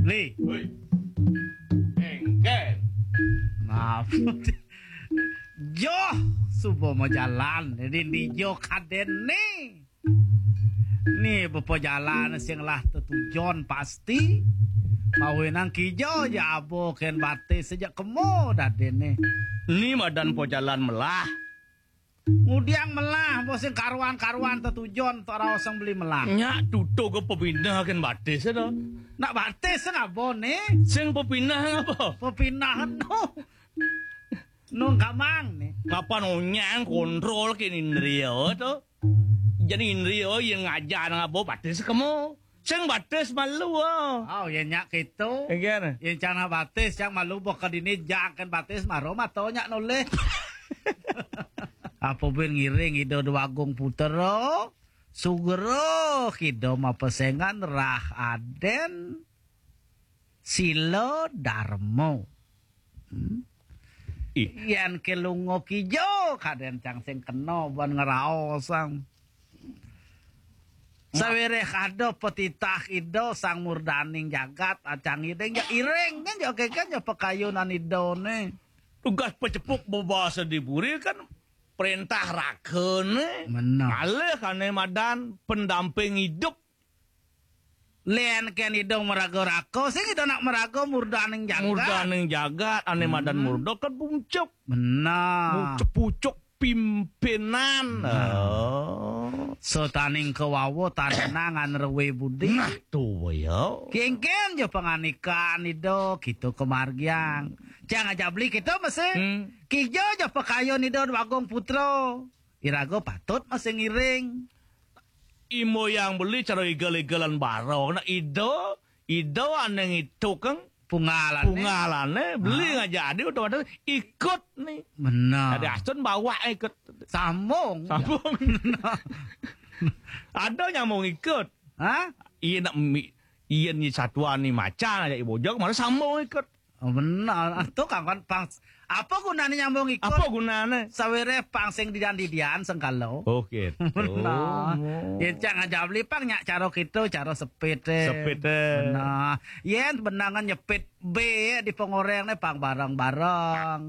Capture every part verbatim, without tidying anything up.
Li. Woi. Engken. Maaf. Joh, suba majalan. Dadi ndi jo kadén né. Né bapa jalan sing lah tetujon pasti. Mawinan kija ja aba kén batis ja kema dadiné. Né madan pajalan melah. Ngudiang melah, bos sing karuan-karuan tetujon, tok raos sing beli melah. Nyak tutug pepinah kén batis to. Nak batis sing aba né? Sing pepinah ngapa? Pepinah no. Nung kamang né. Kapan onyang kontrol kén indria to? Jani indria yén ngajar ngaba batis kema. Sing batis malu, oh. Oh, yén nyak kéto. Engken. Yén cang nak batis, cang malu boh ka dini jang kén batis mara mata nyak nolih. Apa buin ngiring Ida Déwa Agung Putra, sugra kida mapesengan rah Adén sila darma. Hmm. Ih. Yén ké lunga kija, kadén cang sing kena ban ngraosang. Sawiréh ada patitah Ida Sang Murdaning Jagat, acang Ida ja iring kan, ja kénkén ja pakayunan Ida né. Tugas pacepuk bebasa di puri kan perintah raka né. Benar. Ngalih ané madan pendamping hidup. Lén kén Ida maraga raka, sing Ida nak maraga murdaning jagat. Murdaning jagat, ané madan murda kan pucuk. Benar. Pucuk, pucuk pimpinan. Nah. Oh. Sataning kawawa tanenang ngan rewe budi. Nah, to ya. Kénkén ja pangandikan Ida, kita kamargiang. Cang aja beli kita mesti. Hmm. Kija ja pakayun Ida Déwa Agung Putra. Iraga patut mesti ngiring. Imbo yang beli cara igel-igelan barong. Nah, Ida, Ida ané ngitukang pungalane. Pungalane, beli ngajak adi otomatis ikut né. Benar. Dadi astun bawa ikut. Sambung. Sambung. Ada nyambung ikut. Hah? Iya nak mi, iya ni satuan ni macan aja ibojok, malah sambung ikut. Oh, benar. Ah, to kan, kan, pang, apa gunané nyambung ikut? Apa gunané? Sawiréh pang sing didian-didian sengkala. Oh, gitu. Benar. Oh. Yén cang aja beli pang nyak cara kita, cara sepit, eh. Sepit, eh. Benar. Yén benangan nyepit bé di pengoreng né pang bareng-bareng.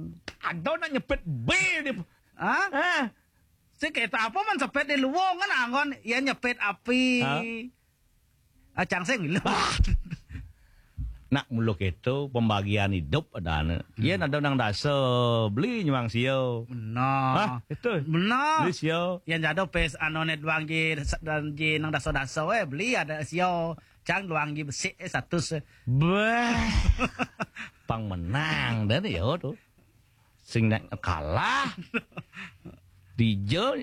Ada nak nyepit bé di. Hah? Hah? Si kita apa man sepit di luwung kan anggon, yén nyepit api. Hah? Acang sing lho. Nak mula kéto pembagian hidup adané. Hmm. Yén ada nang dasa beli nyuang sia. Benar. Hah, itu. Benar. Beli sia. Yén ada pes anu né duang ji dan ji nang dasa-dasa wé beli ada sia. Cang duang ji besik eh satus. Bah. Pang menang dan ya to. Sing nak kalah. Dija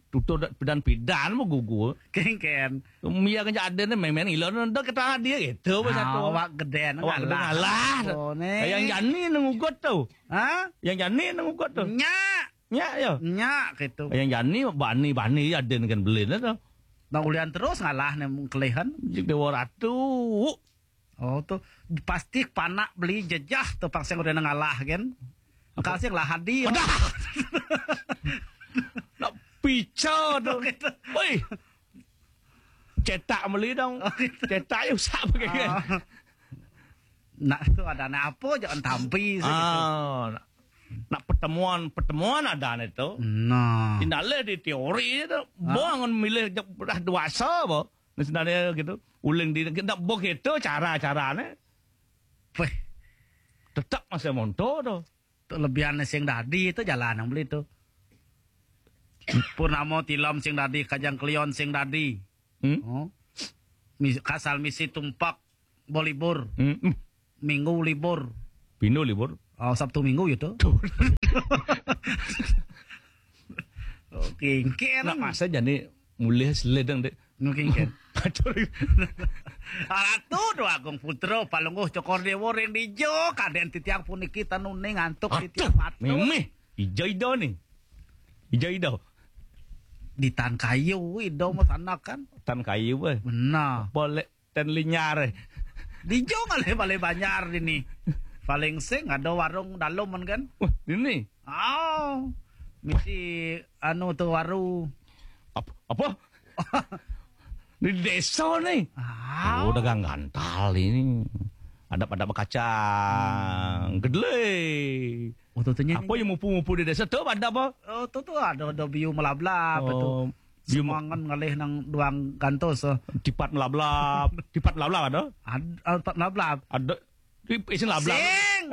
tutur pidan-pidan mau gugur. Kénkén. Mia kan ada né main-main ilo nang kita dia gitu pas satu. Awak gedé nang. Awak gedé ngalah. Oh, né. Yang jani nang ugut to. Hah? Yang jani nang ugut to. Nyak. Nyak ya. Nyak gitu. Yang jani bani-bani ada kan beli to. Nah, ulian terus ngalah né kelihan. Jik Dewa Ratu. Oh, to pasti panak beli jejah to pang sing udah ngalah kan. Engka sing lah hadir. Padah. Nak pica to. Gitu. Woi. Cetak beli dong. Oh, gitu. Cetak ya usah pakai kan. Ah. Nak to ada nak apa jangan tampi sih gitu. Ah, nak, nak pertemuan, pertemuan ada né to. Nah. Tindak leh di teori to. Ah. Bangun milih jak belah dewasa apa. Nah, sebenarnya gitu. Uling di, kita boh gitu cara-carane. Weh. Tetap masih monto to. To lebihan sing dadi to jalan yang beli to. Purnama tilem sing dadi, Kajang Kliwon sing dadi. Hmm? Oh. Mis-, kasal misi tumpak bolibur. Hmm. Hmm. Minggu libur. Pino libur. Oh, Sabtu Minggu ya to. Tuh. Oke, engken. Nak masa jani mulih seledeng, Dek. Mungkin kan. Pacul. Ratu Déwa Agung Putra, palungguh Cokor Déwa ring dija, kadén titiang puniki tanuning antuk titiang matur. Mimih, ija ida ni. Ija ida. Di tan kayu ida mah sanak kan. Tan kayu, eh. Benar. Boleh ten linyar, eh. Dija ngalih balé banjar dini. Paling sing ada warung dalem kan. Wah, dini. Oh. Misi anu tu waru. Ap-, apa? Di desa ni. Ah. Oh, dagang gantal ini. Adap-adap bakacang. Gedle. Oh, tu tu nya. Apa yang mupu-mupu di desa tu adap apa? Oh, tu tu ada ada biu melablab tu. Oh, biu me- Semangan ngalih nang duang gantos. Oh. Tipat melablab. Tipat melablab ada? Ad, ah, tipat melablab. Ada. Di isin lablab. Sing.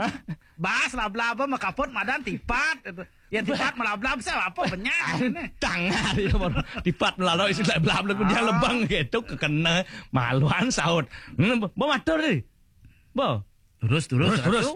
Bas lablab apa makaput madan tipat. Ya tipat melablab saya apa banyak ni. Tangan dia baru tipat melalau isi lablab lagu dia Ah. Lebang gitu kekena maluan saut. Hmm, bo matur ni. Bo. Terus terus Terus, terus.